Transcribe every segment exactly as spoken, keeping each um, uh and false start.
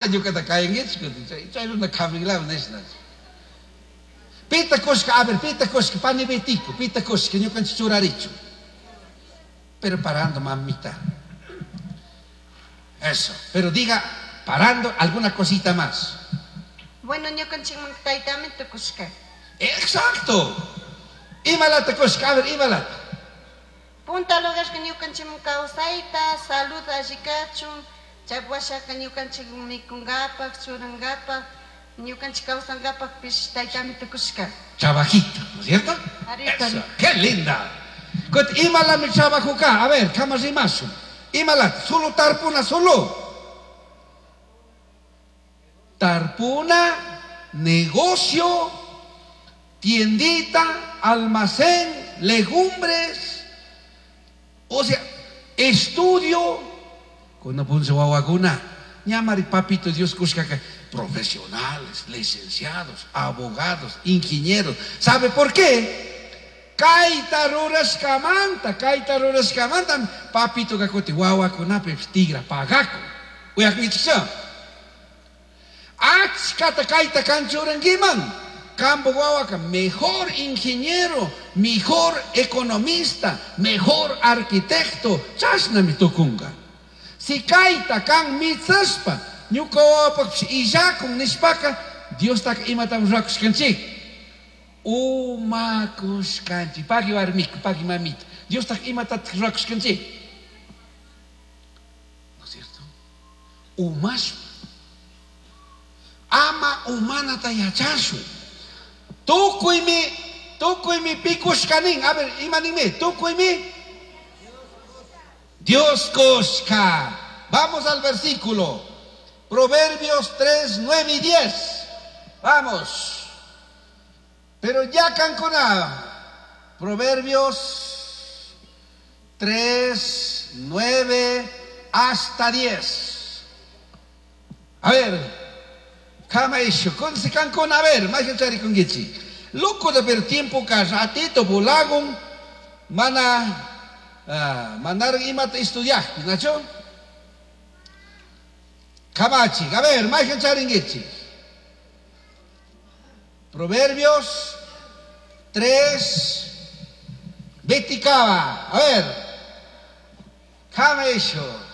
Ñuqata kayankichik, chay chay runa kamiglami nishna. Pita kushka, a ver, pita kushka, pani betico, pita kushka, ñuqanchik churarichu. Pero parando, mamita. Eso. Pero diga, parando, alguna cosita más. Bueno, ñukanchikman taytami tukushka. Exacto. Imalata kushka, a ver, imalata. Punta lugarka ñukanchikman kawsayta, salud alli kachun, chay washaka ñukanchik mikunkapak, churankapak, ñukanchik kawsankapakpish taytami tukushka. Trabajito, ¿no es cierto? Arito. Eso, qué linda. Imalami trabajo acá, a ver, kama rimasu. Imalata, solo tarpuna, solo. Tarpuna, negocio, tiendita, almacén, legumbres, o sea, estudio. Cuando punce wawakuna, ñamari papito Dios kushkaka, profesionales, licenciados, abogados, ingenieros. ¿Sabe por qué? Kaita rurashkamanta, kaita rurashkamanta, papito kakuti wawakunapi tigra pagaku. Uyakinchikcha. Achkata kaita kanchurankiman. Kambo wawaka, mejor ingeniero, mejor economista, mejor arquitecto, chashnami tukunga. Si kaita kan mitsashpa, ñuka wawapakpish illakun nishpaka, Diostaka imatam rurakushkanchik. Umakushkanchik. Pagui warmiku, pagui mamita. Diostaka imatatak rurakushkanchik. ¿No es cierto? Umashpa. Ama umanata yachashun. Tukuymi, tukuymi pikushkanin. A ver, imaninmi, tukuymi. Dios kushka. Vamos al versículo. Proverbios tres, nueve y diez. Vamos. Pero ya cancona. Proverbios tres, nueve hasta diez. A ver. Kama isho, con se cancona, a ver, más que con gichi. Loco de per tiempo que ratito volagon, mana, ah, mandar imata estudiar, ¿nacho? Kamachi, a ver, más que charinguichi. Proverbios tres, veticaba, a ver, kama isho.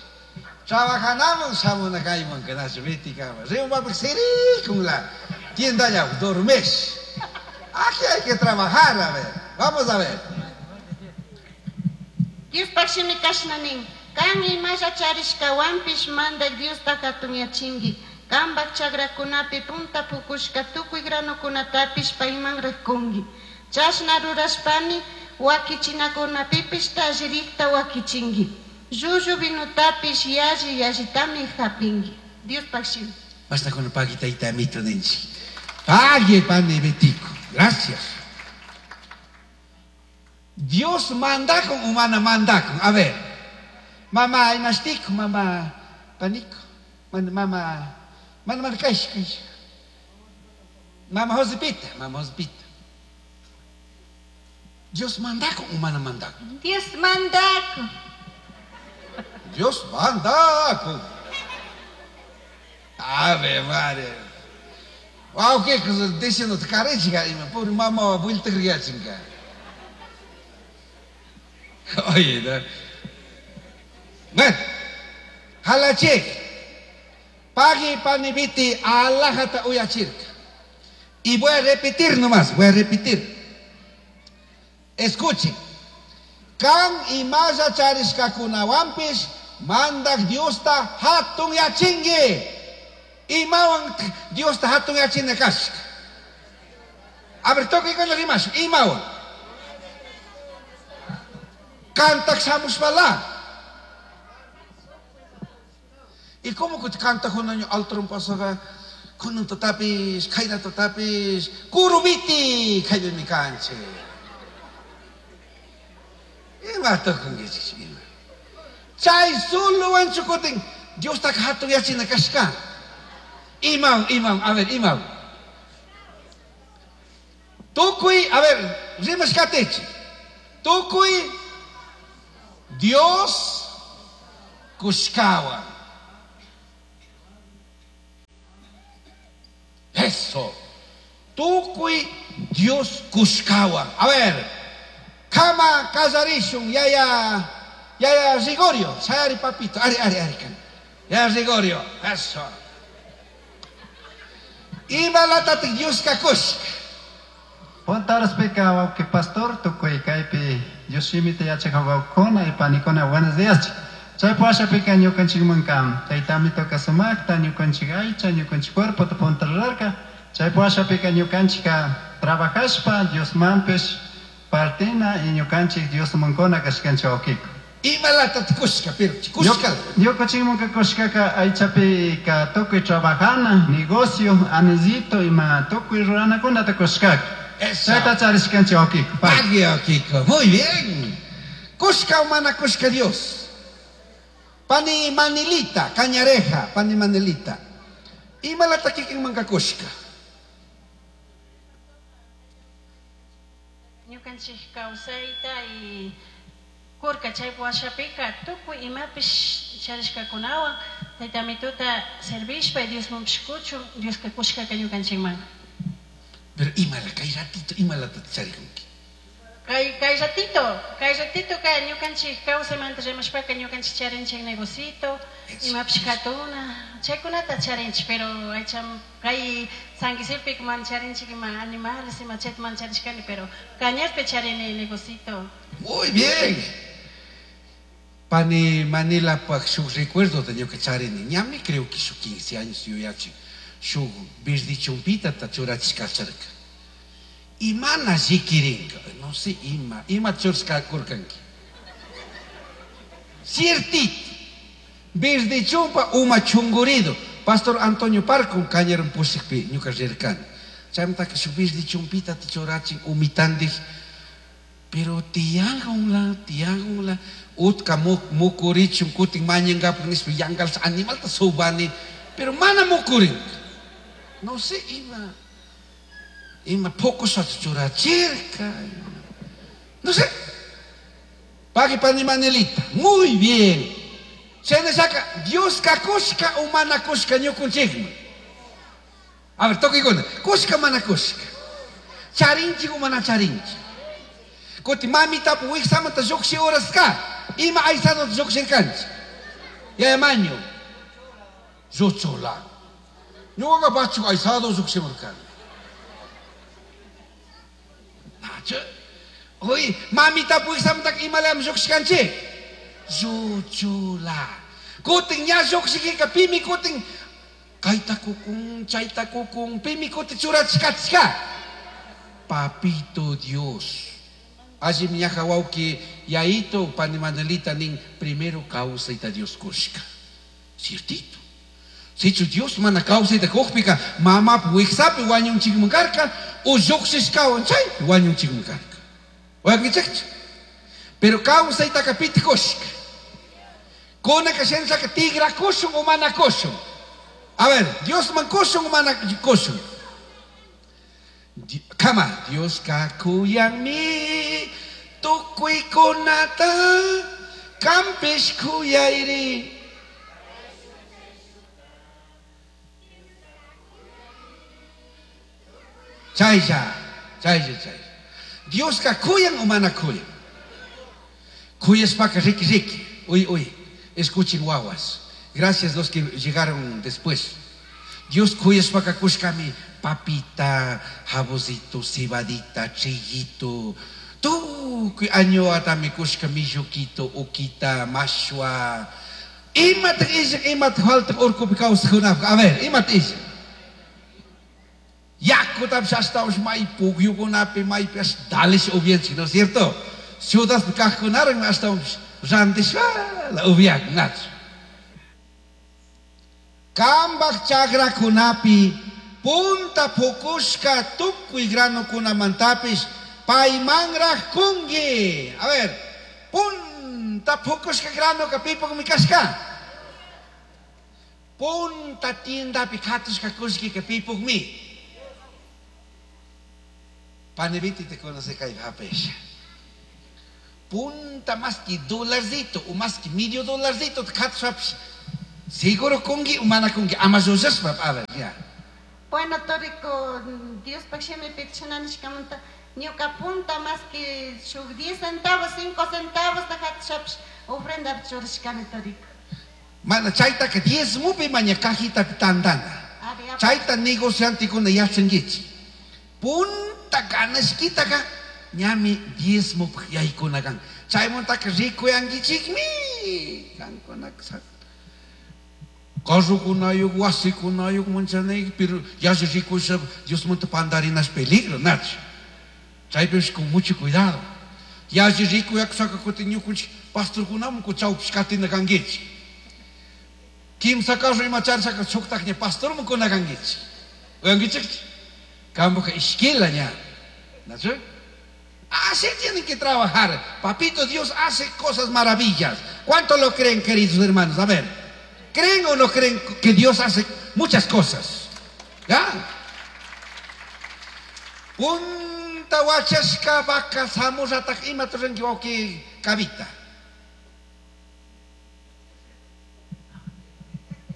Trabajanamos samuna kayman kanacho veticaba. Rimba siri con la tienda ya dormes. Aquí hay que trabajar, a ver. Vamos a ver. Dios pashimi kashnanin. Kan imalla charishkawanpish mandak Diosta hatunyachinki. Kanpak chakrakunapi punta pukushka tukuy granokunatapish payman rikunki. Chashna rurashpami wakichinakunapipish tallirikta wakichinki. Llullu vinutapish yalli yallitami hapinki. Dios pashimi. Basta con el paguita y tamito ninchi. Pague pane betico. Gracias. Dios manda con humana manda con. A ver. Mamá, imastico, mamá, panico. Mamá, mamá, kaish, kaish. Mamá Josepita, mamá Josepita. Dios manda con humana manda con. Dios manda con. Dios manda con. Ave Maria. Wow, que cosa diciendo te carechiga, pobre mamá, vuelta criachinga. Oye, ¿no? Bueno, halachik, pagi panibiti alahata uyachirka. Y voy a repetir nomás, voy a repetir. Escuchen. Kan imaya charishkakunawanpish mandak Diosta hatun yachingi. Imawan Diosta hatun yachina kashka. A ver, toque con los rimas. Imawan. Cantak samushpala. ¿Y cómo que canta con año altron pasaga? Con un totapis, kaina totapis, kurubiti, kaina mi canche. Ima tocan que ima. Chay solo wanchukotin, Dios ta hatun yachina kashka. Imam, imam, a ver, imam. Tukuy, a ver, rimas katechi. Tukuy, Dios kushkawa. Eso. Tukuy Dios kushkawan. A ver, kama kallarishun, yaya, yaya Rigorio, sayari papito, ari, ari, ari, kan. Yaya Rigorio, eso. Imalatatik Dios kakushka. Punta wawqi pastor tukuy kaypi Dios shimita yachaq wawqikuna y panikuna buenos días. Chay washapika ñukanchikmanka taytami toka sumakta ñukanchik aycha ñukanchik cuerpota punta rurarka. Chay washapika ñukanchika trabajashpa Diosmanpish partina y ñukanchik Diosmankuna kashkanchik wawqiku. Imalatat kushka, pero kushka. Ñukanchikmanka kushkaka aychapika tukuy trabajana, negocio, anisito ima tukuy ruranakunata kushkaka. Eso. Chayta charishkanchik wawqiku. Pagui, Kiko. Muy bien. Kushka o mana kushka Dios. Pani Manilita, cañareja, pani Manilita. Imalata kikin manka kushka. Ñukanchik kawsayta y kurka chay washapika tukuy imapish charishkakunawan tayta mituta servishpa y Diosmanpish kuchun Dioska kushkaka ñukanchikman. Pero imala, kay ratito, imalata charikunki. Kay, kay ratito, kay ratito ka ñukanchik kawsaymanta rimashpaka ñukanchik charinchik negocito, imapish katuna, chaykunata charinchik, pero aycham kay San Giuseppe man charinchik ima animales ima chayta man charishkani, pero Cañarpi charini negocito. Muy bien. Pani Manila pak shuk recuerdo de ñuka charini, ñami creo que shuk quince años yuyachi, shuk virdi chumpita ta churachishka charka. Imana zikirinka, no sé, ima, ima churska kurkanki. Ciertito. Virdi chumpa uma chungurido. Pastor Antonio Parco cañaron pusikpi ñuka rirkani. Chaymantaka shuk virdi chumpita ta churachin umitandij. Pero tiyangunla, tiyangunla, utka mukurichun kutin mañangapak nishpa yangal animalta subani, pero mana mukurinka. No sé, ima, ima poco churachirka. No sé. Pagui pani Manelita. Muy bien. Se ne saca Dios ka kushka o mana kushka ñukunchikman. A ver, toque con. Kushka mana kushka. Charinchik o mana charinchik. Kuti mamita pu wiksamanta lluqshi horas ka. Ima aysado lluqshirkanchik. Yaya maño. Lluchula. Ñuqaqa pachu aysado lluqshimurkani. Nachu. Uy, mamita pu wiksamanta imalayam lluqshkanchik. Lluchula. Kutin ña lluqshikika pimi kutin kayta kukun, chayta kukun, pimi kutin churachkachka. Papito Dios. Allí ñaja wawqi yaito pani Manelita nin primero kawsayta Dios kushka. Ciertito. Sichu Dios mana kawsayta kuqpika mamap wiksapi wañunchikman karka o lluqshishkawan chaypi wañunchikman karka. Wakinchikchu. Pero kawsaytaka piti kushka. Kunaka shinashaka tigra kushun o mana kushun. A ver, Dios man kushun o mana kushun. Kama, Dios kakuyanmi tukuykunata kampish kuyayri. Chaylla, chaylla, chaylla. Dios kakuyan o mana kuyan. Kuyashpaka riki riki. Uy, uy. Escuchen guaguas. Gracias los que llegaron después. Dios kuyashpaka kushkami papita, jabosito, cebadita, triguito. Tukuy añoatami kushka milluquito, uquita, mashua. Imata isha, imata falta urkupi kawsajkunapaq. A ver, imata isha. Yakutapish ashtawanpish may pukyukunapi, maypi ash dalish upyanchik, ¿no es cierto? Ciudadpi kaqkunaran ashtawanpish rantishpala upyak, nachu. Kambaj chakrakunapi punta pukushka tukuy granukunamantapish paymanraj kunki. A ver, punta pukushka granoka pipukmi kashka. Punta tiendapi katushka kushkika pipukmi. Paneviti te conoce kay hapesha. Punta más que dolarcito o más que medio dolarcito katushpapish. Seguro kunki o mana kunki ama llullashpa, a ver, ya. Bueno, turiku, Diospaj shimipi chashna nishkamanta ñuka punta más que shuk diez centavos, cinco centavos hatishapish ofrendapi churashkani turiku. Mana chaytaka diezmopi maña cajitapi tantana. Chayta negociantekuna yachankichik. Punta ganashkitaka ñami diezmopaj yaykuna kan. Chaymantaka rikuyankichikmi. Kankunaka carrokunayuq, wasikunayuq manchanayki, pero yalli rikusha Diosmanta pandarinash peligro, nachu. Chaypish con mucho cuidado. Yalli rikuyakusaka kutin ñukunchik pastorkunaman chawpish katina kankichik. Kimsa carro ima charishaka shuktakña pastorman kuna kankichik. Uyankichikchu? Kampuka ishkila ña. Nachu? Así tienen que trabajar. Papito Dios hace cosas maravillas. ¿Cuánto lo creen, queridos hermanos? A ver, ¿creen o no creen que Dios hace muchas cosas? ¿Ya? Punta wachashka vaca samurratak ima turanki wawqi Kavita.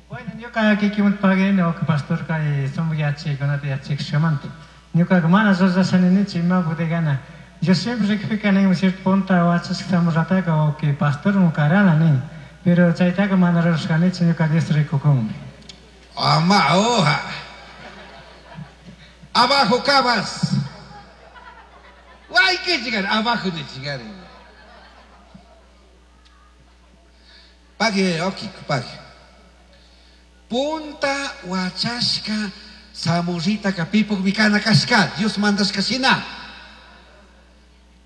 Bueno, ñuka kikinmanta pagani wawqi pastor kay sumak yachaykunata yachachishkamanta. Ñukaqa mana rurashani nichu ima bodegana. Yo siempre rikpikani cierto punta wachashka samurrataka wawqi pastorman karana nin. Pero chaytaqa mana rurashkanichu ñuka Dios rikukunmi. Ama hoja. Abajo cabas. Hay que llegar abajo de llegar. Pague, ok, pague. Punta huachashka samurrita kapipuk mikana kashka. Dios mandas kashina.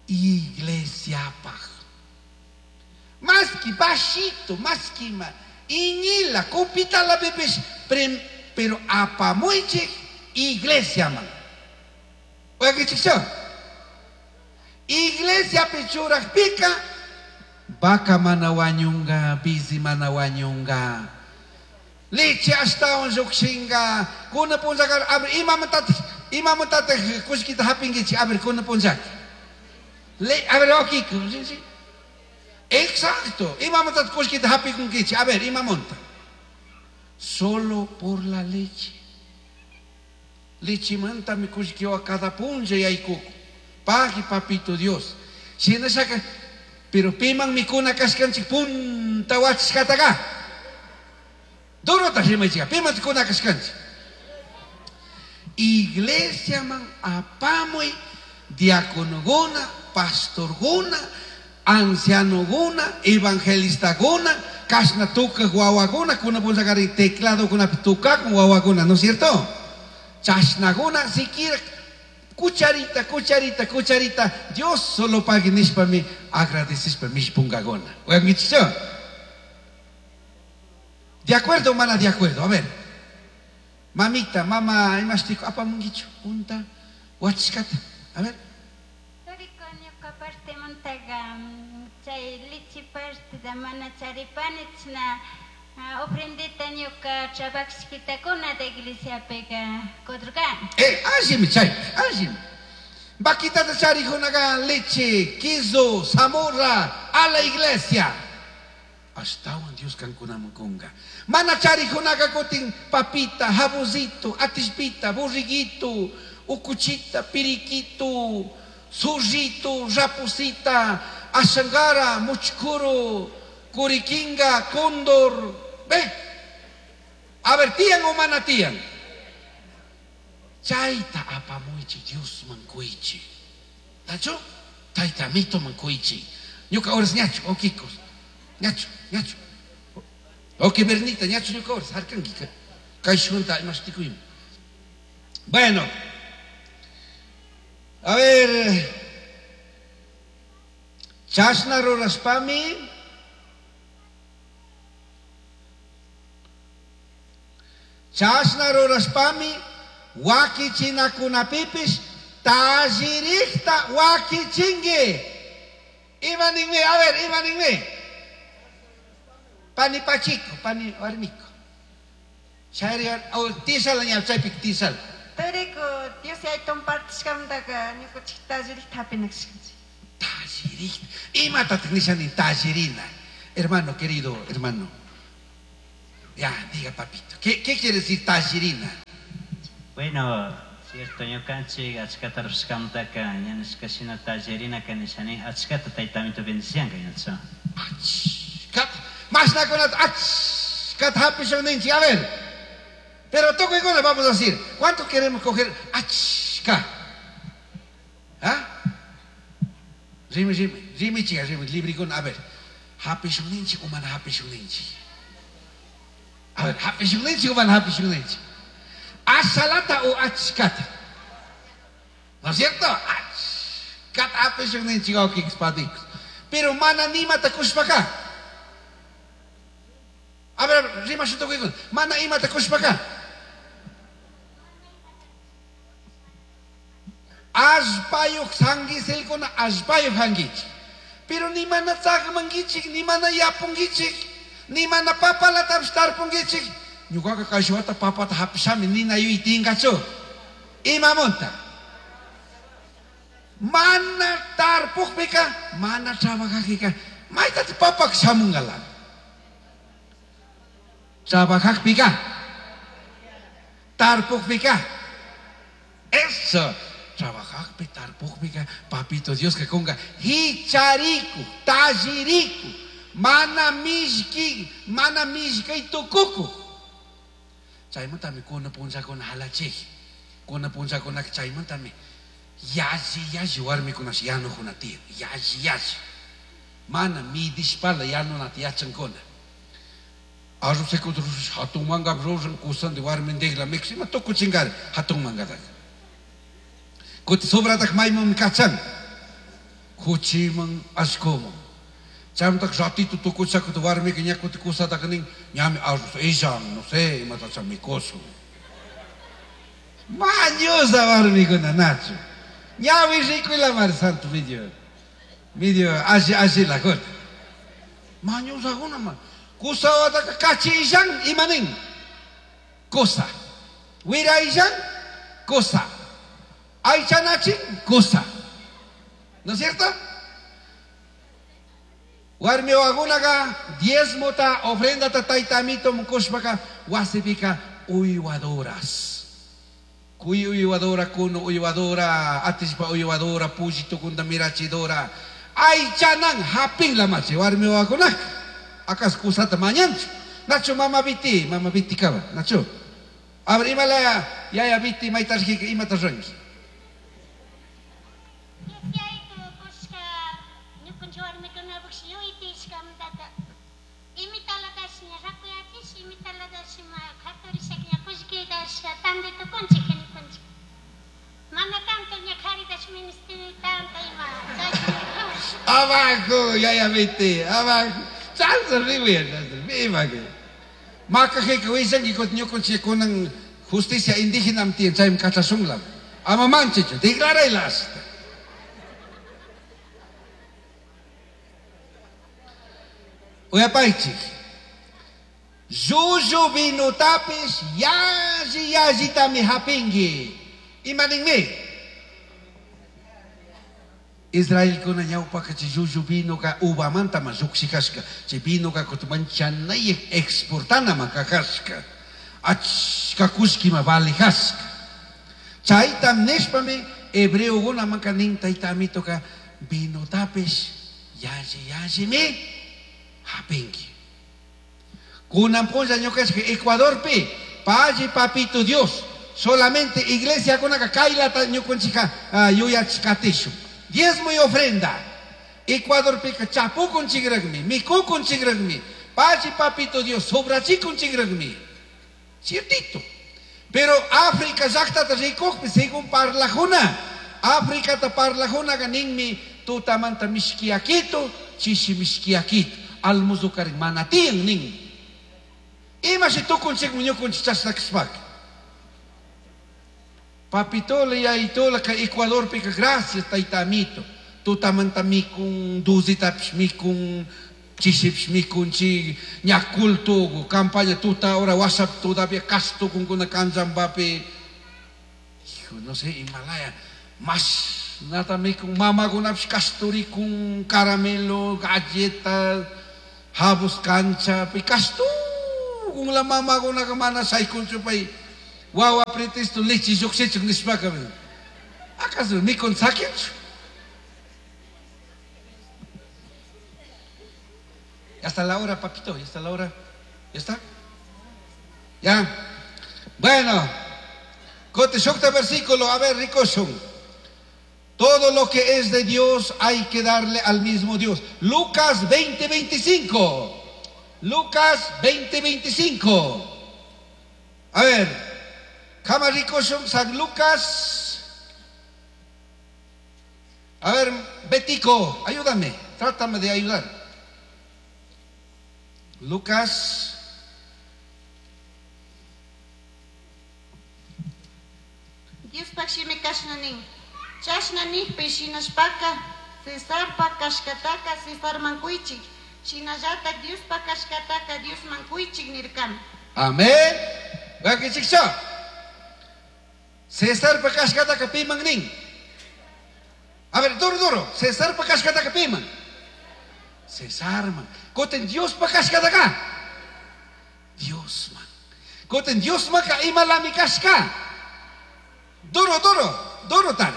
Iglesia paj. Más que bajito, más que ma. Iñila, copita la bebes, pero apamuiche iglesia man. Oiga, ¿qué chico? Iglesia pichuraj pica, vaca mana wañunga, bizi mana wañunga. Leche hasta un yukshinga, kuna punzakar, a ver, imamantatej, imamantatej, kushkita hapingichi, a ver, kuna punzak. Le, a ver, ok, sí, sí. Exacto, imamantatej kushkita hapingichi, a ver, imamonta. Solo por la leche. Leche manta mi kushkio a cada punza y aykuku. Pague, papito Dios. Si no saca, pero piman mi kuna kaskanchik punta wachkataga. Duro ta rimaychika, piman kuna kaskanchik. Iglesia man apamuy diáconoguna, pastorguna, ancianoguna, evangelistaguna, kasna tuka guawaguna, kuna punzakari teclado kuna tuka con guawaguna, ¿no es cierto? Chasnaguna, siquiera cucharita, cucharita, cucharita, Dios solo pague nishpa mi agradecispa mis pungagona. ¿De acuerdo, mana? De acuerdo. A ver. Mamita, mama, imastico, apamungicho, punta, huachcata. A ver. Toriko ñuka parte montaga, chay lichi parte da mana charipani chna ofrendita ñuka trabajishkitakuna de iglesia pega kodrgan. Eh, así chay, así. Vaquita de charijunaga leche, queso, zamorra a la iglesia. Hasta un Dios cancunamukunga. Mana charijunaga kutin papita, jabuzito, atispita, burriguito, ucuchita, piriquito, surrito, rapucita, ashangara, muchcuro, curiquinga, cóndor. Ve. A ver, tían o mana tían. Chaita apamuichi, Dios mancuichi. ¿Tacho? Taita mito mancuichi. Ñuka horas ñacho, okikos. Ñacho, ñacho. Ok, Bernita, ñacho ñuka horas, harkanki. Kaishunta imashtikuyim. Bueno. A ver. Chashna ruraspami. Chashna ruraspami. Wakichinakunapipis tallirikta wakichingi. Imaninmi, a ver, imaninmi. Pani pachico, pani warmiko. Chayri, o tisal ña chaypik tisal. Turiku, Dios yayton partishkamantaka ñukanchik tallirikta hapinakashkanchik. Tallirikta. Imatataq nishani tallirina? Hermano querido, hermano. Ya, diga papito. ¿Qué, qué quiere decir tallirina? Bueno, cierto, ñukanchik achkata rushkamtaka ñanishkashina tallerina kanishani achkata taytamito bendicianka ñacha. Achkata, mashnakunata achkata hapishun ninchik, a ver. Pero tukuykuna vamos a decir, ¿cuánto queremos coger achka? ¿Ah? Rimi, rimi, rimi chica, rimi, librikuna, a ver. Hapishun ninchik o mana hapishun ninchik. A ver, hapishun ninchik o mana hapishun ninchik. Ashalata o achkata. ¿No es cierto? Achkata hapishun ninchik wawkikis. Pero mana nimata kushpaka. A ver, rimashun tukuykuna. Mana imata kushpaka. Allpayuq sanguiselkuna allpayuq hankichik. Pero ni mana tzaqmankichik, ni mana yapunkichik, ni mana papalatapis tarpunkichik. Ñuqaqa kay wata papata hapishami nina yuytinkachu. Imamunta. Mana tarpuqpika, mana trabajaqpika, maytati papak shamunqala. Trabajaqpika, tarpuqpika. Eso. Trabajaqpi, tarpuqpika, papito Dios que conga hichariku, talliriku, mana mishki, mana mishkay tukuku. Chaymantami kuna punchakuna halachik, kuna punchakuna chaymantami yalli yalli warmikunash yanukuna tiyan, yalli yalli. Mana midishpala yanunata yachankuna. Arroz seco hatun manga ruran kusandi warmindigla mixima tukuchinkari hatun mangataka. Kuti sobratak mayman kachan, kuchiman ashkuman. Chaymantak ratito tukuchakut warmika ña kuti kusatak nin, ñami arroz illan, no sé, imatacha mikushun. Mañosa warmikuna nachu. Ñawi rikuyla mar santo medio, medio alli allilakuna. Mañosakuna ma. Kusawataka kachi illan imanin. Kusa. Wira illan, kusa. Aychanachin, kusa. ¿No es cierto? Warmi wagunaga diezmota ofrendata taytamito mukushpaka wasipika uywadoras. Kuy uywadora, kuno uywadora, atishpa uywadora, pullito kunda mirachidora. Aychanan hapin la machi warmi wagunak. Akas kusata mañanchu. Nacho mama biti, mama biti kaba, nacho. Abre imala yaya biti maytarjika imata ranki. Abajo, yaya biti, abajo. Chanza riwi, viva que. Makajika wisanki kut ñukunchik kunan justicia indígena tiyan chaymi kachashunlam. Ama manchichu, declaraylas. Uyapaychik. Llullu vinutapis yalli yallitami hapinki. Imaninmi? Israelkuna ñawpaka chay llullu vinoka uvamantama lluqshikashka. Chay vinoka kutumanchanayaq exportanama kakashka. Achka kullkima valijashka. Chaytam nishpami hebreokunamanka nin taytamitoka vinotapis yalli yallimi hapinki. Kunan punlla ñuqashka Ecuadorpi palli papito Dios solamente iglesia kunaka kaylata ñukunchika yuyachikatishun. Diezmo y ofrenda. Ecuadorpika chapukunchikraqmi, mikukunchikraqmi, palli papito Dios sobrachikunchikraqmi. Ciertito. Pero África llaqtata rikuqpi según parlajuna, Africata parlajunaqa ninmi tutamanta mishkiakito, chishi mishkiakito, almuzukarin mana tiyan nin. Imashi tukunchikmi ñukunchik chashna kashpaka. Papitola yayitola ka Ecuadorpika gracias taytamito. Tutamanta mikun, duzitapish mikun, chishipish mikunchik, ña culto, campaña tuta ahora WhatsApp todavía kastukunkuna kanchanpapi. Hijo, no sé, Himalaya, más nata mikun, mamakunapish kasturikun, caramelo, galletas, jabos cancha, pi kastukun la mamakunaka mana shaykunchu pay. Wawa pretexto leche lluqshichuk nishpaka. ¿Acaso mikun sakinchu? Ya está la hora, papito, ya está la hora. ¿Ya está? Ya. Bueno, Cote shukta versículo, a ver, ricoshun. Todo lo que es de Dios hay que darle al mismo Dios. Lucas veinte, veinticinco. Lucas veinte, veinticinco. A ver, Kama ricoshun, San Lucas. A ver, Betico, ayúdame, trátame de ayudar. Lucas. Diospaj shimi kashna nin. Chashna nijpi shinashpaka Cesarpa kashkataka Cesarman kuychik, shinallatak Diospa kashkataka Diosman kuychik nirkami. Amén. Wakichikcha. Cesarpa kashkataka piman nin. A ver, duro, duro. Cesarpa kashkataka piman. Cesarman. Koten Diospa kashkataka. Diosman. Koten Diosmaka imalami kashka. Duro, duro, duro tare.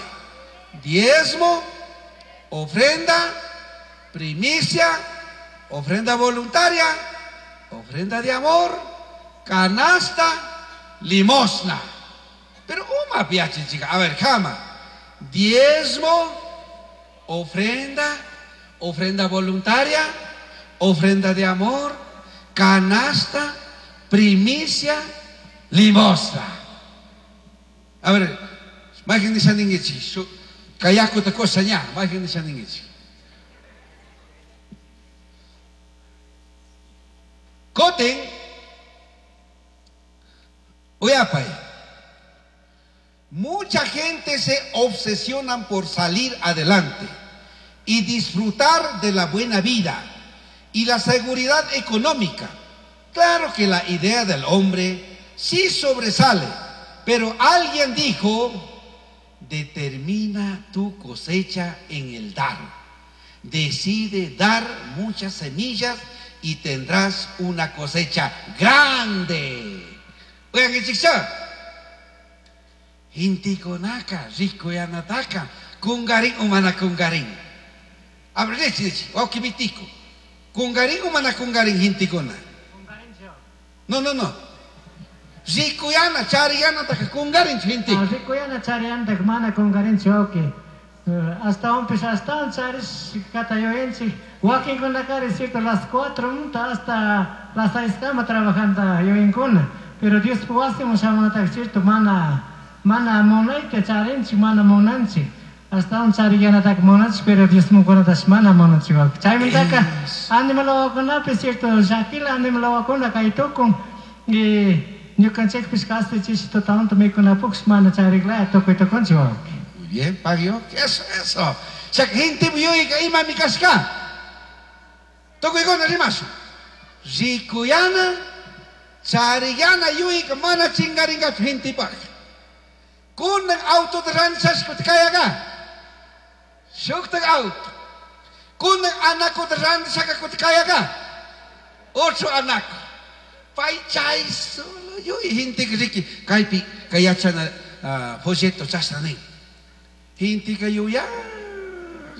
Diezmo, ofrenda, primicia, ofrenda voluntaria, ofrenda de amor, canasta, limosna. Pero uma piache, chica. A ver, jama. Diezmo, ofrenda, ofrenda voluntaria, ofrenda de amor, canasta, primicia, limosna. A ver, majen nishaningichi, kayakuta cosa ña, majen nishaningichi. Koten, uyapay. Mucha gente se obsesionan por salir adelante y disfrutar de la buena vida y la seguridad económica. Claro que la idea del hombre sí sobresale, pero alguien dijo, determina tu cosecha en el dar. Decide dar muchas semillas y tendrás una cosecha grande. Oigan, ¿qué chicha? Intikonaka, rico yanataka, kungarín humana kungarín. A ver, leche, leche, wakibitico. Kungarín humana kungarín, hintikona. No, no, no. Ricuyana, chariyana, taka kungarin gente. Ricuyana, chariyana, taka mana kungarin choque. Hasta un pis, hasta un charis, catayoenchi. Wakin kunakari, cierto, las cuatro hasta las seis cama trabajando yoinkuna. Pero Dios puasimo shamanata, cierto, mana, mana monaite charinchi, mana monanchi. Hasta un chariyana taka monanchi, pero Dios mukunatas mana monanchi. Chaymantaka, animalawakuna, cierto, shakila animalawakuna kaytukun. Y ñukanchikpis kasti chishi totalmente mikunapuksh mana chariklaya tukuy tukunchik. Muy bien, pagio. Eso, eso. O sea, gente yuyka imami kashka. Tukuykuna rimashu. Rikuyana, chariyana yuyka mana chingaringachu gentepaj. Kunan autota ranchashpa kayaga. Shuktak auto. Kunan anakuta ranchashaka kayaga. Otro anaku. Pay chay solo yuy gente riki kaypi kay yachana folleto chashna nin. Gente ka yuya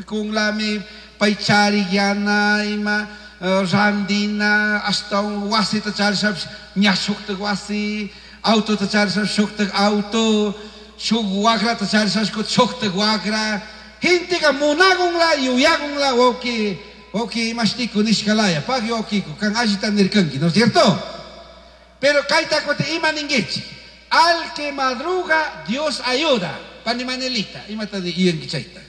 kung lami pay chariyana ima randina hasta wasita charishapis ña shuktak wasi, autota charishapis shuktak auto, shuk wakrata charishapis shuktak wakra. Gente ka munagunla yuyagunla wawki wawki imashtiku nishkalaya pagui wawkiku kan allita nirkanki, ¿no es cierto? Pero kayta kuti ima ninkichik, al que madruga Dios ayuda. Pani Manelita, imata yuyanki chayta.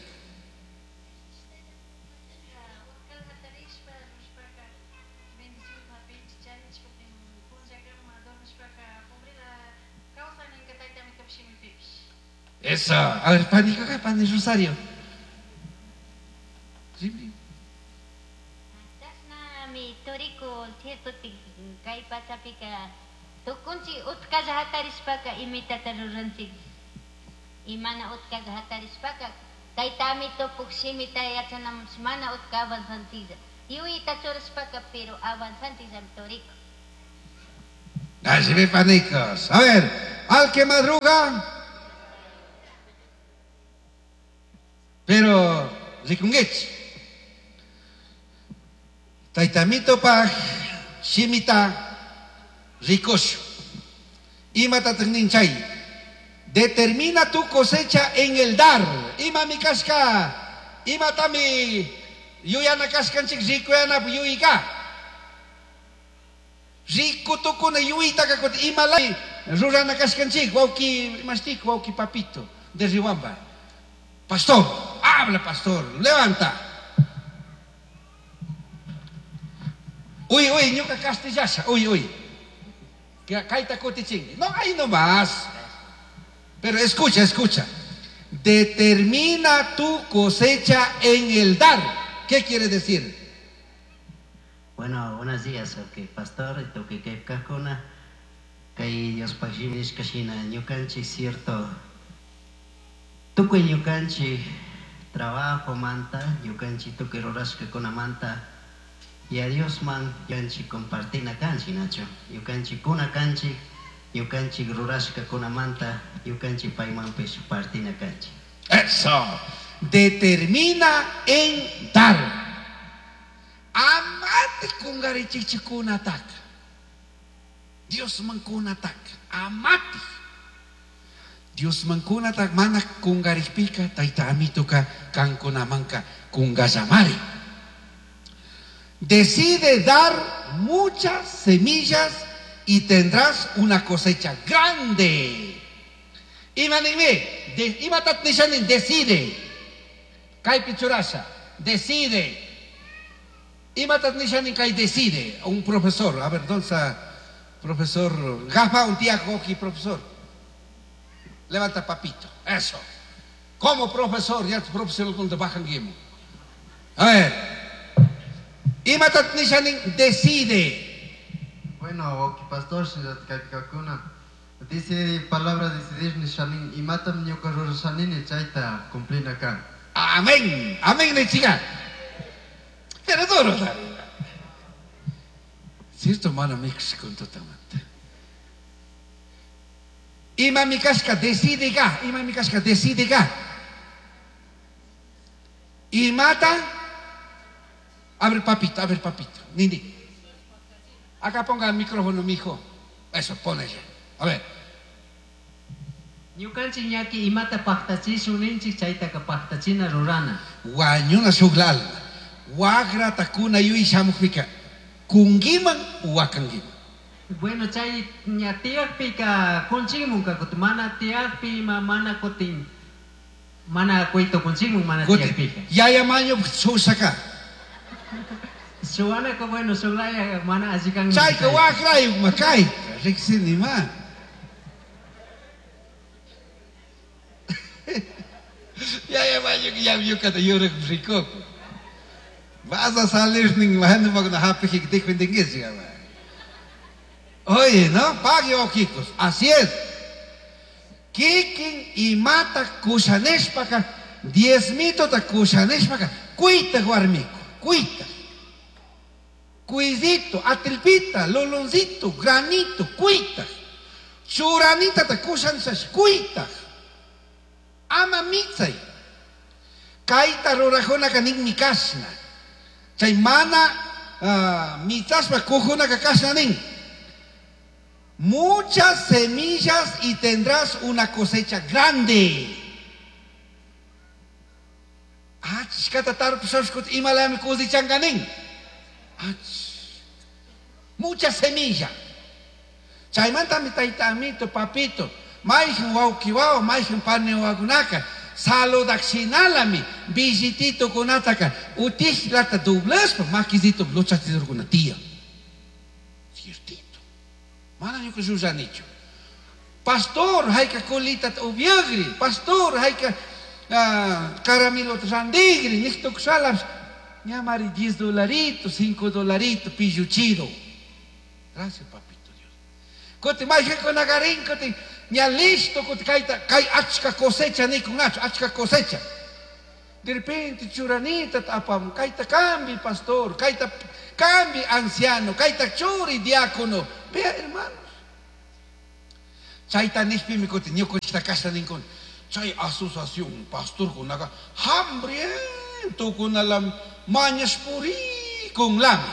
Eso. A ver, pani, acá, pani Rosario. Sí. Mi turiku cierto kay pachapika tukunchik utkalla hatarishpaka imitata ruranchik. Y mana utkalla hatarishpaka taytami tupuk shimita yachanamunchik mana utka avanzanchiklla. Yuyta churashpaka pero avanzanchikllami turiku. Así ve, panicos. A ver, Al que madruga. Pero, rikungech. Taytamito paj, shimita, rikosho. Ima chay. Determina tu cosecha en el dar. Ima mi kashka, ima tami yuyana kashkanchik rikuyana yuyika. Riku tukuna yuyitaka kuti ima lay rurana kashkanchik wauki mastik wauki papito de Riwamba. Pastor, habla pastor, levanta. Uy, uy, ñuka castellasha, uy, uy. Kaita kutichingi. No, ahí nomás. Pero escucha, escucha. Determina tu cosecha en el dar. ¿Qué quiere decir? Bueno, buenos días, ok, pastor, toque que kakuna, kay Dios pagshimish kashina, ñukanchi cierto. Tukuy ñukanchi trabajo manta, ñukanchi tukuy rurashka kuna manta, y a Dios man ñukanchi compartina kanchi nacho, ñukanchi kuna kanchi, ñukanchi rurashka kuna manta, ñukanchi paymanpish partina kanchi. Eso. Determina en dar. Amate kungarichichi kunataka. Dios man kunataka. Amate. Dios man kunataka mana kungaripika tayta amituka kankunamanka kungallamari. Decide dar muchas semillas y tendrás una cosecha grande. Ima nime, de, ima tatnishanin, decide. Kaypi churasha, decide. Ima tatnishanin kay decide. Un profesor, a ver, ¿dónde está? Profesor, gafa un tiago aquí, profesor. Levanta papito, eso. Como profesor, ya profesor cuando bajan guimo. A ver. Ima tatnishanin, decide. Bueno, ok, pastor, dice palabra decidir nishanin imatam ñuka rurashanini chayta cumplina kan. Amén, amén, chica. Pero duro, cierto, mana mix con totalmente. Ima mi kashka decide ga, ima mi kashka decide ga. Imata, a ver papito, a ver papito, nini. Acá ponga el micrófono, mijo. Eso, ponele. A ver. Ñukanchik ñaki imata paqtachishun ninchik chaytaka paqtachina rurana. Wañuna shuglal. Wagra takuna yui shamuqpika. Kungiman wakangiman. Bueno, chay ña tiyaqpika kunchikmunka kuti mana tiyaqpi ima mana kutin mana kuyto kunchikmun mana tiyaqpika. Yaya maño shusaka. Shuwanaka bueno shuglaya mana allikanmi. Chayka wakrayuq makayka riqsini ma. Yaya maño ya ñuqata yuraq rikuku. Vas a salir nin magna hapijik defendingues. Oye, ¿no? Pague ojicos. Así es. Kikin imata kushaneshpaka, diezmito ta kushaneshpaka, cuita guarmico, cuita. Cuidito, atilpita, loloncito, granito, cuita. Churanita ta kushaneshash, cuita. Ama mitzay. Kaita rurajunaka nin mikashna. Chay mana uh, mitzashpa kujunaka kashna nin. Muchas semillas y tendrás una cosecha grande. Muchas semillas. Chaymanta mi taytamito, papito, mayhan wawqiwawa, mayhan paniwakunaka, saludakshinalami, billitito kunataka, utihlata doblashpa makisito luchachidurkuna tiyan. Ciertito. Mana ñuka llullanichu. Pastor, hayka colita ubiagri, pastor, hayka uh, caramelo randigri, niqtukshalas, ñamari diez dolaritos, cinco dolaritos, pilluchido. Gracias, papito Dios. Kuti mayqinkunakarin, kuti ña listo, kuti kayta, kay achka cosecha nikunachu, achka cosecha. De repente churanita apam, kayta cambi pastor, kayta cambi anciano, kayta churi diácono. Vea, hermanos. Chayta nishpimi kutin ñukunchikta kashna ninkuna. Chay asociación pastorkunaqa hambrientokunalam mañashpurikunlami.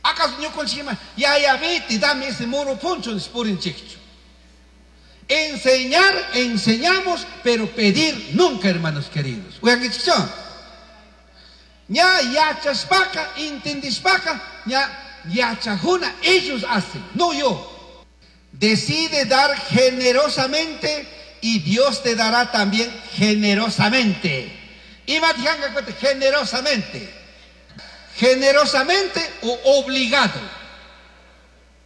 ¿Acaso ñukunchikma yaya vete, dame ese moro poncho nishpurinchikchu? Enseñar, enseñamos, pero pedir nunca, hermanos queridos. Uyankichikchu? Ña yachashpaka, intendishpaka, ña yachajuna, ellos hacen, no yo. Decide dar generosamente y Dios te dará también generosamente. Ima tijanga cuenta, generosamente. Generosamente o obligado.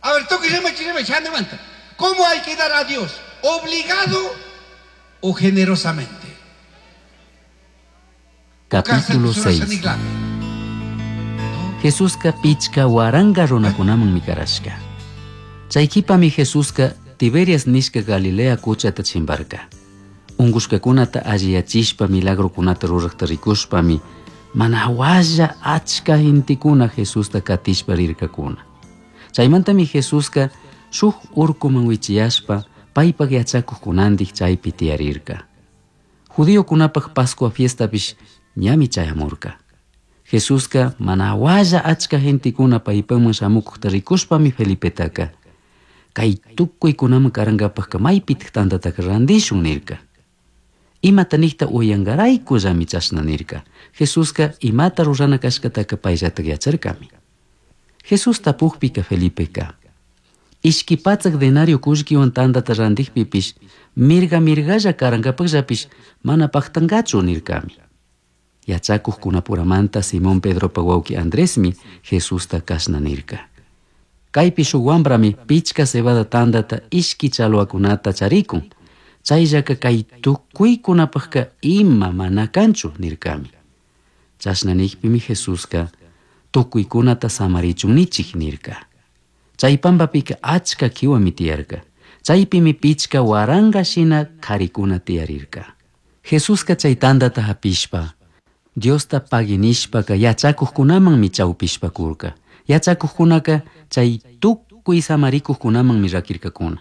A ver, toque, llama, llama, llama, llama. ¿Cómo hay que dar a Dios? ¿Obligado o generosamente? Capítulo seis. Jesuska pichka waranga runakunaman mikarashka. Chaykipami Jesuska Tiberias nishka Galilea kuchata chimbarka. Ungushkakunata alliyachishpa milagrokunata ruraqta rikushpami mana walla achka gentekuna Jesusta katishpa rirkakuna. Chaymantami Jesuska shuk urkuman wichiyashpa paypak yachakuqkunandik chaypi tiyarirka. Judiokunapaq Pascua fiestapish ñami chayamurka. Jesuska mana walla achka gentekuna paypaman shamukuqta rikushpami Felipetaka kay tukuykunaman karankapaqqa maypitaq tantataka randishun nirka. Imata niqta uyankaraykullami chashna nirka. Jesuska imata rurana kashkataka payllatak yacharkami. Jesús tapuqpika Felipeka ishki patsak denario kullkiwan tantata rantikpipish mirga mirgalla karankapaqllapish mana paqtankachu nirkami. Yachakuqkunapuramanta Simón Pedropa wawqi Andresmi Jesusta kashna nirka. Kaypi shuk wambrami pichka cebada tantata ishki challwakunata charikun. Chayllaka kay tukuykunapaqka ima mana kanchu nirkami. Chashna nikpimi Jesuska tukuykunata samarichun nichik nirka. Chay pampapika achka kiwami tiyarka. Chaypimi pichka waranga shina karikuna tiyarirka. Jesuska chay tantata hapishpa Diosta paginishpaka yachakuqkunamanmi chawpishpa kurka. Yachakuqkunaka chay tukuy samarikuqkunamanmi rakirkakuna.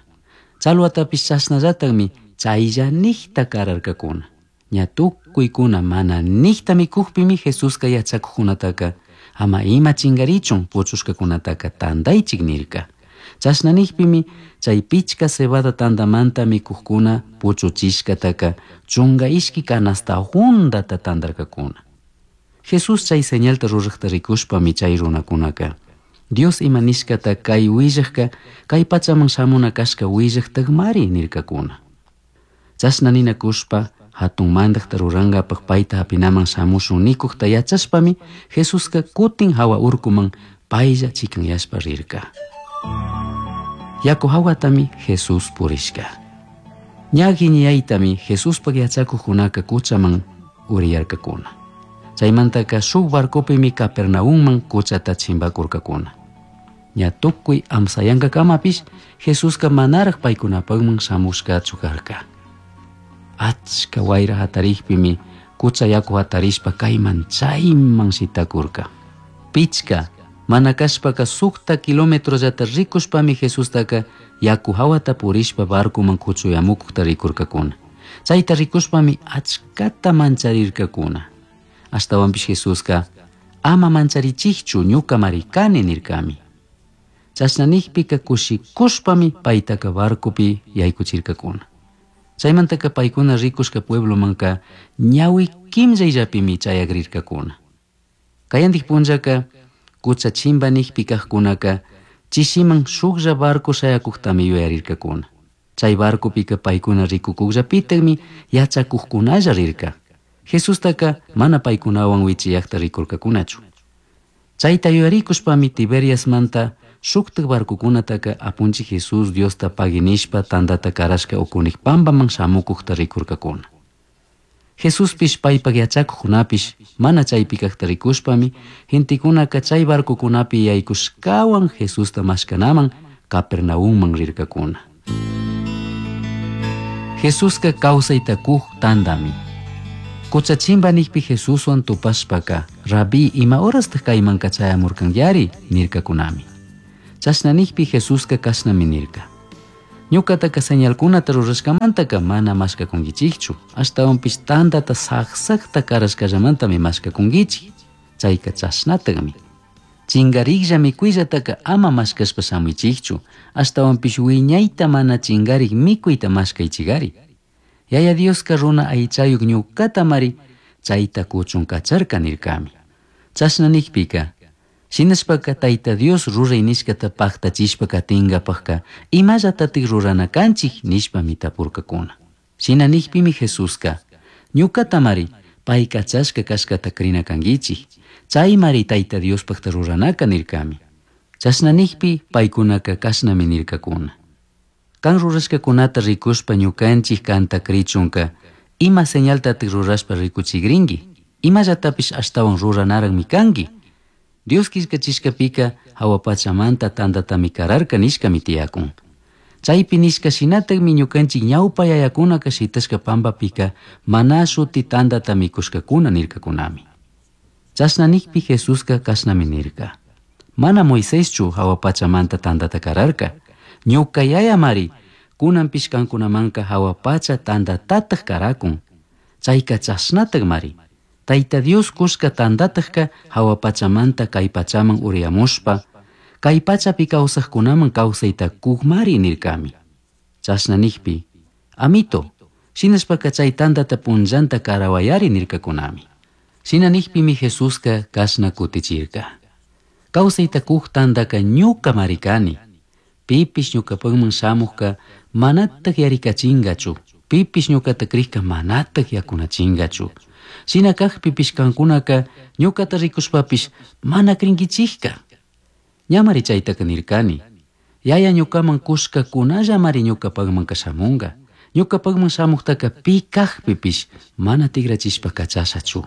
Challwatapish chashnallataqmi chaylla niqta kararkakuna. Ña tukuykuna mana niqta mikuqpimi Jesuska yachakuqkunataka ama ima chinkarichun puchushkakunataka tantaychik nirka. Chashna niqpimi chay pichka cebada tantamanta mikuqkuna puchuchishkataka chunka ishki canasta hundata tantarkakuna. Jesús chay señalta ruraqta rikushpami chay runakunaka Dios ima nishkata kay willaqka kay pachaman shamuna kashka willaqtaqmari nirkakuna. Chashna ninakushpa hatun mandaqta rurankapaq payta hapinaman shamushun nikuqta yachashpami Jesuska kutin hawa urkuman paylla chikanyashpa rirka. Yaku hawatami Jesús purishka. Ña guiñaytami Jesuspaq yachakuqkunaka kuchaman uriyarkakuna. Chaymantaka shuk barcopimi Capernaumman kuchata chimbakurkakuna. Ña tukuy amsayankakamapis Jesuska manaraq paykunapaqman shamushkachu karka. Achka wayra hatarikpimi kucha yaku hatarishpa kayman chayman shitakurka. Pichka mana kashpaka sukta kilometrollata rikushpami Jesustaka yaku hawata purishpa barcoman kuchuyamukuqta rikurkakuna. Chayta rikushpami achkata mancharirkakuna. Ashtawanpish Jesuska ama mancharichikchu ñuka marikani nirkami. Chashna nikpika kushikushpami paytaka barcopi yaykuchirkakuna. Chaymantaka paykuna rikushka pueblomanka ñawi kimllayllapimi chayakrirkakuna. Kayantik punllaka kucha chimpa nikpi kaqkunaka chishiman shuklla barco shayakuqtami yuyarirkakuna. Chay barcopika paykuna rikukuqllapitaqmi yachakuqkunalla rirka. Jesustaka mana paykunawan wichiyaqta rikurkakunachu. Chayta yuyarikushpami Tiberiasmanta shuktaq barcokunataka apunchik Jesús Diosta paginishpa tantata karashka ukunik pampaman shamukuqta rikurkakuna. Jesuspish paypak yachakuqkunapish mana chaypi kaqta rikushpami gentekunaka chay barcokunapi yaykushkawan Jesusta mashkanaman Capernaumman rirkakuna. Jesuska kawsayta kuq tantami. Kucha chimpa nikpi Jesuswan tupashpaka Rabí ima horastaq kaymanka chayamurkanyari nirkakunami. Chashna nikpi Jesuska kashnami nirka. Ñuqataka señalkunata rurashkamantaka mana mashkakunkichikchu, ashtawanpish tantata saqsaqta karashkallamantami mashkakunkichik. Chayka chashnataqmi. Chingariklla mikuyllataqa ama mashkashpa shamuychikchu, ashtawanpish wiñayta mana chingarik mikuyta mashkaychikari. Yaya Dioska runa aychayuq ñuqatamari chayta kuchun kacharka nirkami. Chashna nikpika, shinashpaka Tayta Dios ruray nishkata paqtachishpa katinkapaqka imallatatik rurana kanchik nishpami tapurkakuna. Shina nikpimi Jesuska, ñuqatamari pay kachashka kashkata krina kankichik, chaymari Tayta Diospaqta ruranaka nirkami. Chashna nikpi paykunaka kashnami nirkakuna. Kan rurashkakunata rikushpa ñukanchik kanta krichunka, ima señaltatik rurashpa rikuchikrinki, imallatapish ashtawan ruranaraqmi kanki. Dios killkachishkapika hawa pachamanta tantatami kararka nishkami tiyakun. Chaypi nishka shinatakmi ñukanchik ñawpa yayakunaka shitashka pampapika mana shuti tantata mikushkakuna nirkakunami. Chashna nikpi Jesuska kashnami nirka. Mana Moiséschu hawa pachamanta tantata kararka. Ñuka yayamari kunanpish kankunamanka hawa pacha tantatataq karakun. Chayka chashnatakmari. Tayta Dios kushka tantataqka hawa pachamanta kay pachaman uriyamushpa, kay pachapi kawsaqkunaman kawsayta kukmari nirkami. Chashna nikpi, amito, shinashpaka chay tantata punllanta karawayari nirkakunami. Shina nikpimi Jesuska kashna kutichirka. Kawsayta kuk tantaka ñukamari kani. Pipish ñukapakman shamuqka manataq yarikachinkachu, pipish ñukata krikka manataq yakunachinkachu. Shina kaqpipish kankunaka ñukata rikushpapish mana krinkichikka. Ñamari chaytaka nirkani. Yaya ñukaman kushkakunallamari ñukapakmanka shamunka. Ñukapakman shamuqtaka pi kaqpipish mana tikrachishpa kachashachu.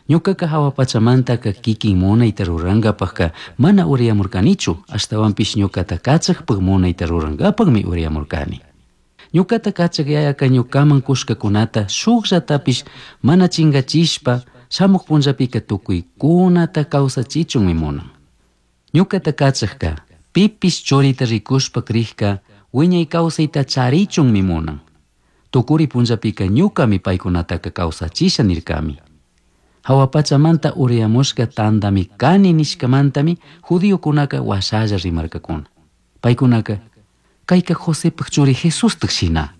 Ñukaka hawa pachamantaka kikin munayta rurankapaqka mana uriyamurkanichu, ashtawanpish ñukata kachaqpaq munayta rurankapaqmi uriyamurkani. Ñukata kachaq yayaka ñukaman kushkakunata shukllatapish mana chinkachishpa shamuq punllapika tukuykunata kawsachichunmi munan. Ñukata kachaqka pipish churita rikushpa krikka wiñay kawsayta charichunmi munan. Tukuri punllapika ñukami paykunataka kawsachisha nirkami. Hawa pachamanta uriyamushka tantami kani nishkamantami judiokunaka washalla rimarkakuna. Paykunaka kayka Josepaq churi Jesustaq shina.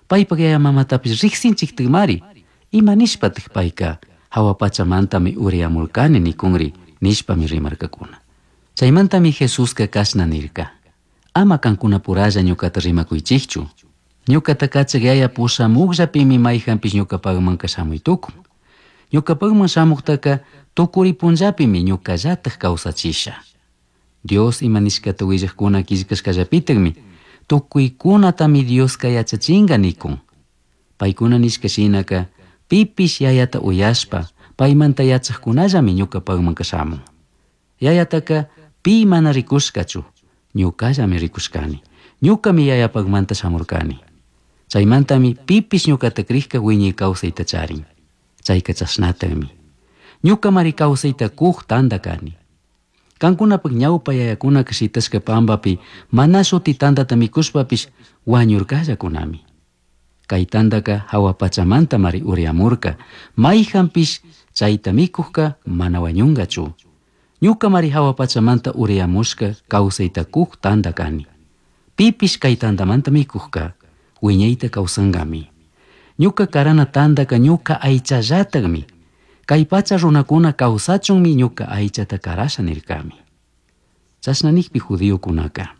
Paypaq yaya mamatapish riqsinchiktikmari. Ima nishpataq payka hawa pachamantami uriyamurkani nikunri nishpami rimarkakuna. Chaymantami Jesuska kashna nirka. Ama kankunapuralla ñukata rimakuychikchu. Ñukata kachaq yaya pushamuqllapimi mayhanpish ñukapaqmanka shamuy tukun. Ñukapaqman shamuqtaka tukuri punllapimi ñukallataq kawsachisha. Dios ima nishkata willaqkuna killkashkallapitakmi tukuykunatami Dioska yachachinka nikun. Paykuna nishka shinaka pipish yayata uyashpa paymanta yachaqkunallami ñukapaqmanka shamun. Yayataka pi mana rikushkachu, ñukallami rikushkani. Ñukami yayapaqmanta shamurkani. Chaymantami pipish ñukata krikka wiñay kawsayta charin. Chayka chashnataqmi. Ñukamari kawsayta kuq tanta kani. Kankunapaq ñawpa yayakunaka shitashka pampapi mana shuti tantata mikushpapish wañurkallakunami. Kay tantaka hawa pachamantamari uriyamurka, mayhanpish chayta mikuqka mana wañunkachu. Ñukamari hawa pachamanta uriyamushka kawsayta kuq tanta kani. Pipish kay tantamanta mikuqka wiñayta kawsankami. Ñuka karana tantaka ñuka aychallataqmi. Kay pacha runakuna kawsachunmi ñuka aychata karasha nirkami. Chashna nikpi judiokunaka,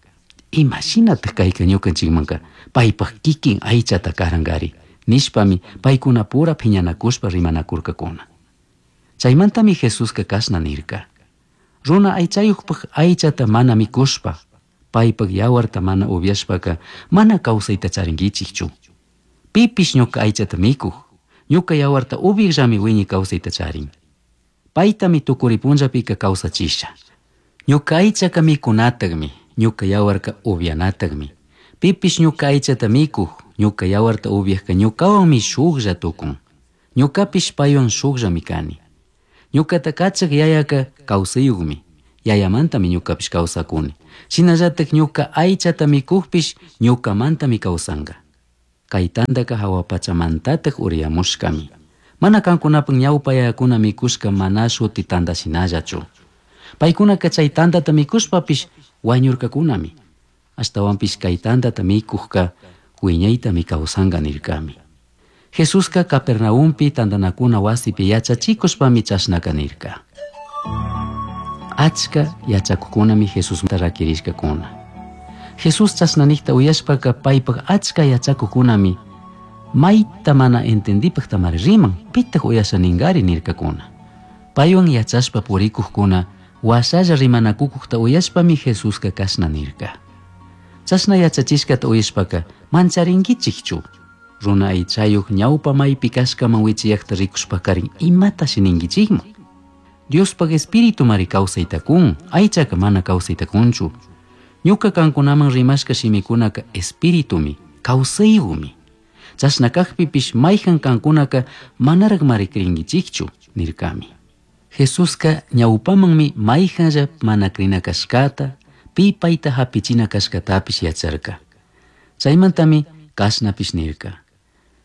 imashinataq kayka ñukanchikmanka paypaq kikin aychata karankari nishpami paykunapura phiñanakushpa rimanakurkakuna. Chaymantami Jesuska kashna nirka. Runa aychayuqpaq aychata mana mikushpa, paypaq yawarta mana upyashpaka mana kawsayta charinkichikchu. Pipish ñuka aychata mikuq, ñuka yawarta upyaqllami wiñay kawsayta charin. Paytami tukuri punllapika kawsachisha. Ñuka aychaka mikunataqmi, ñuka yawarka upyanataqmi. Pipish ñuka aychata mikuq, ñuka yawarta upyaqka ñukawanmi shuklla tukun. Ñukapish paywan shukllami kani. Ñukata kachaq yayaka kawsayuqmi. Yayamantami ñukapish kawsakuni. Shinallatak ñuka aychata mikukpish ñukamantami kawsanka. Kay tantaka hawa pachamantatak uriyamushkami. Mana kankunapak ñawpa yayakuna mikushka mana shuti tanta shinallachu. Paykunaka chay tantata mikushpapish wañurkakunami. Ashtawanpish kay tantata mikukka wiñaytami kawsanka nirkami. Jesuska Capernaumpi tantanakuna wasipi yachachikushpami chashnaka nirka. Achka yachakukunami Jesusmanta rakirishkakuna. Jesús chashna nijta uyashpaka paypak achka yachakukunami mayta mana entendipaktamari riman, pitak uyasha ningari nirkakuna. Paywan yachashpa purikukkuna washalla rimanakukukta uyashpami Jesuska kashna nirka. Chashna yachachishkata uyashpaka mancharinkichikchu. Runa aychayuq ñawpa maypi kashkaman wichiyaqta rikushpakarin imatashi ninkichikman. Diospaq espíritu mari kawsayta kun, aychaka mana kawsayta kunchu. Ñuka kankunaman rimashka shimikunaka espiritumi, kawsayumi. Chashna kaqpipish mayhan kankunaka manaraq mari krinkichikchu, nirkami. Jesuska ñawpamanmi mayhanlla mana krina kashkata, pi payta hapichina kashkatapish yacharka. Chaymantami kashnapish nirka.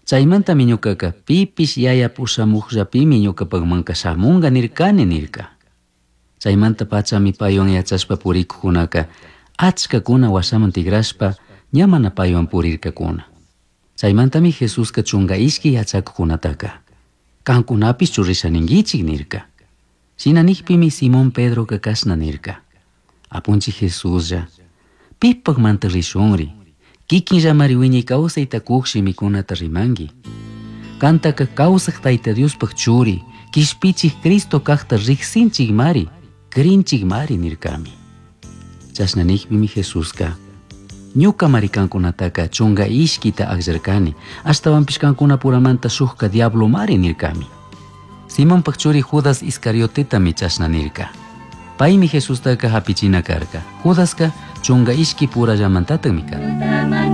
Chaymantami ñukaka pipish yaya pushamuqllapimi ñukapakmanka shamunka nirkani nirka. Chaymanta pachami paywan yachashpa purikuqkunaka achkakuna washaman tigrashpa ña mana paywan purirkakuna. Chaymantami Jesuska chunka ishki yachakuqkunataka kankunapish risha ninkichik nirka. Shina nikpimi Simón Pedroka kashna nirka. Apunchik Jesuslla, pipakmanta rishunri, kikinllamari wiñay kawsayta kuq shimikunata rimanki. Kantaka kawsaq Tayta Diospaq churi, kishpichik Cristo kaqta riqsinchikmari, krinchikmari nirkami. Chashna nikpimi Jesuska ñukamari kankunataka chunka ishkita akllarkani, ashtawanpish kankunapuramanta shukka diablomari nirkami. Simonpak churi Judas Iscariotetami chashna nirka. Paymi Jesustaka hapichina karka. Judaska chunka ishki purallamantataqmi karka.